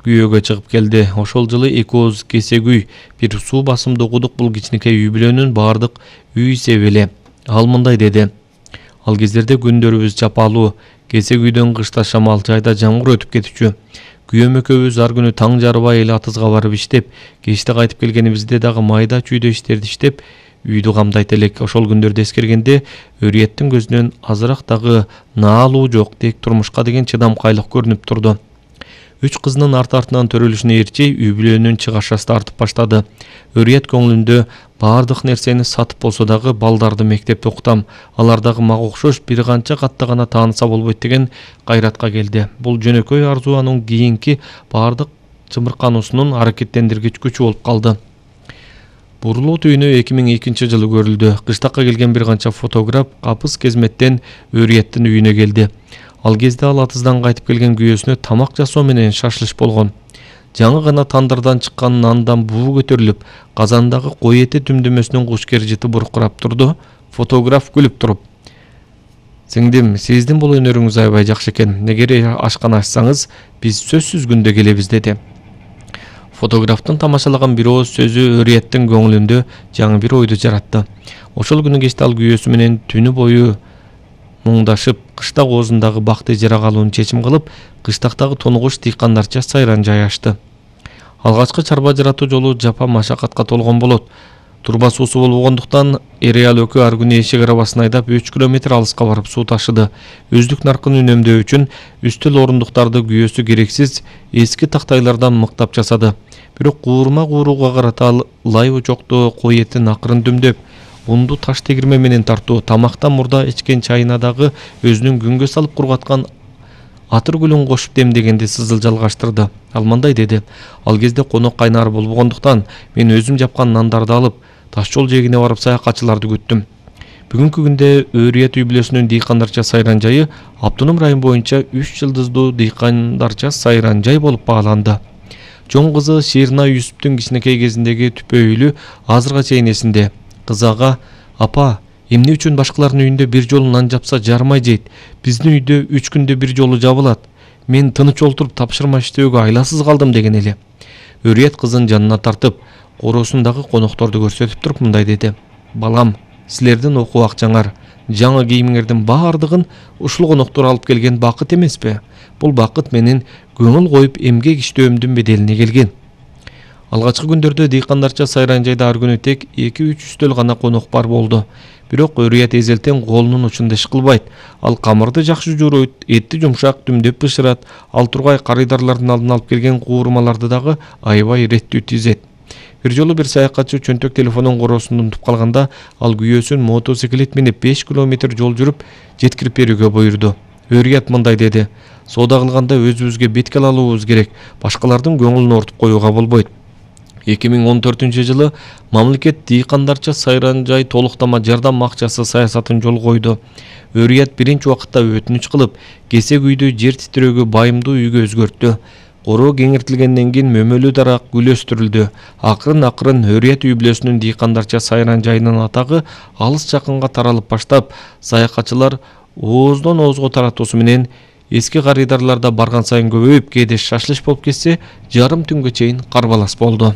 күйөөгө чыгып келди. Ошол жылы Экөөз Кесегүй бир суу басымдуу кудук бул кичинекей үй бүлөнүн бардык үй себи эле. Ал мындай деди: Ал кездерде күндөрүбүз жапалуу, Кесегүйдөн кышта шамал, жайда жамгыр өтүп кетчү. Күйөөм экөөбүз ар күнү таң жарбай эле атызга барып иштеп, кечте кайтып келгенибизде дагы майда чүйдө иштерди иштеп, үйдү камдайт элек. Ошол күндөрдү эскергенде Өрияттын көзүнөн азыраак дагы наалуу жок, тек турмушка деген чыдамкайлык көрүнүп турду. 3 кызынын арты-артынан төрөлүшүнө ээрчей үй бүлөнүн чыгашасы тартып баштады. Өрият көңүлүндө бардык нерсени сатып болсо дагы балдарды мектепте окутам, алар дагы мага окшош бир канча катта гана тааныса болбойт деген кайратка келди. Бул жөнөкөй арзуу анын кийинки бардык чымыркануусунун аракеттендиргич күчү болуп калды. Бурулуу түйүнү 2002 жылы көрүлдү. Кыштакка келген бир канча фотограф капыс кезметтен Өрияттын үйүнө келди. Ал кезде ал атыздан кайтып келген күйөөсүнө тамак жасоо менен шашлыш болгон. Жаңы гана тандырдан чыккан нандан буу көтөрүлүп, казандагы кой эти түмдөмөсүнөн куш кержити буркурап турду. Фотограф күлүп туруп: "Сиңдим, сиздин бул өнөрүңүз аябай жакшы экен. Эгер ашкана ачсаңыз, биз сөзсүз күндө келебиз" деди. Фотографтын тамашалаган бир ооз сөзү Өрияттын көңүлүндө жаңы бир ойду жаратты. Ошол күнү кечте ал күйөөсү менен түнү бою муңдашып, кыштак оозундагы бакты ижарага алууну чечим кылып, кыштактагы тонугуш дыйкандарча сайран жай ачты. Алгачкы чарба жаратуу жолу жапа машакатка толгон болот. Турба суусу болбогондуктан эр-аял экөө ар күнү эшек арабасын айдап 3 километр алыска барып суу ташыды. Өздүк наркын үнөмдөө үчүн үстөл орундуктарды күйөөсү керексиз эски тактайлардан мыктап жасады. Бирок кууруга карата лай очокто кой этин акырын дөмдөп, унду таш тегирме менен тартуу, тамактан мурда ичкен чайына дагы өзүнүн күнгө салып кургаткан атыр гүлүн кошуп демдегенди сызыл жалгаштырды. Ал мындай деди: "Ал кезде конок кайнар болбогондуктан мен өзүм жапкан нандарды алып, таш жол жээгине барып саякатчыларды күттүм." Бүгүнкү күндө Өрият үй бүлөсүнүн дыйкандарча сайран жайы Автоном район боюнча 3 жылдыздуу дыйкандарча сайран жай болуп бааланды. Чоң кызы Ширина Юсуптун кичинекей кезиндеги түпөйлү азырга чейин эсинде. Кызы ага: "Апа, эмне үчүн башкалардын үйүндө бир жолу нан жапса жармай жейт? Биздин үйдө 3 күндө бир жолу жабылат. Мен тыныч олтуруп тапшырма иштөөгө айласыз калдым" деген эле. Өрият кызын жанына тартып, короосундагы конокторду көрсөтүп туруп мындай деди: "Балам, силердин окуу акчаңар, жаңы кийимиңердин бардыгын ушул коноктор алып келген бакыт эмеспи? Бул бакыт менин көңүл коюп эмгек иштөөмдүн беделине келген." Алгачкы күндөрдө дыйкандарча сайран жайда ар күнү тек 2-3 үстөл гана конок бар болду. Бирок Өрият эзелтен колунун учунда иш кылбайт. Ал камырды жакшы жууруйт, этти жумшак дүмдөп бышырат. Ал тургай карыдарлардын алдына алып келген куурмаларды дагы аябай иреттүү тизет. Бир жолу бир саякатчы чөнтөк телефонун короосунда унутуп калганда, ал күйөөсүн мотоциклет минип 5 километр жол жүрүп жеткирип берүүгө буйрду. Өрият мындай деди: "Соода кылганда өзүбүзгө бетке алуубуз керек, башкалардын көңүлүн ортуп коюуга болбойт." 2014 жылы мамлекет дыйкандарча сайран жай толуктама жардам акчасы саясатын жолго койду. Өрият биринчи убакытта өтүнүч кылып, Кесегүйдү жер титирөөгө байымдуу үйгө өзгөрттү. Короо кеңиртилгенден кийин мөмөлүү дарак гүл өстүрүлдү. Акырын Өрият үй бүлөсүнүн дыйкандарча сайран жайынын атагы алыс жакынга таралып баштап, саякатчылар ооздон оозго таратуусу менен эски карыдарларда барган сайын көбөйүп, кээде шашлыш болуп кетсе, жарым түнгө чейин карбалас болду.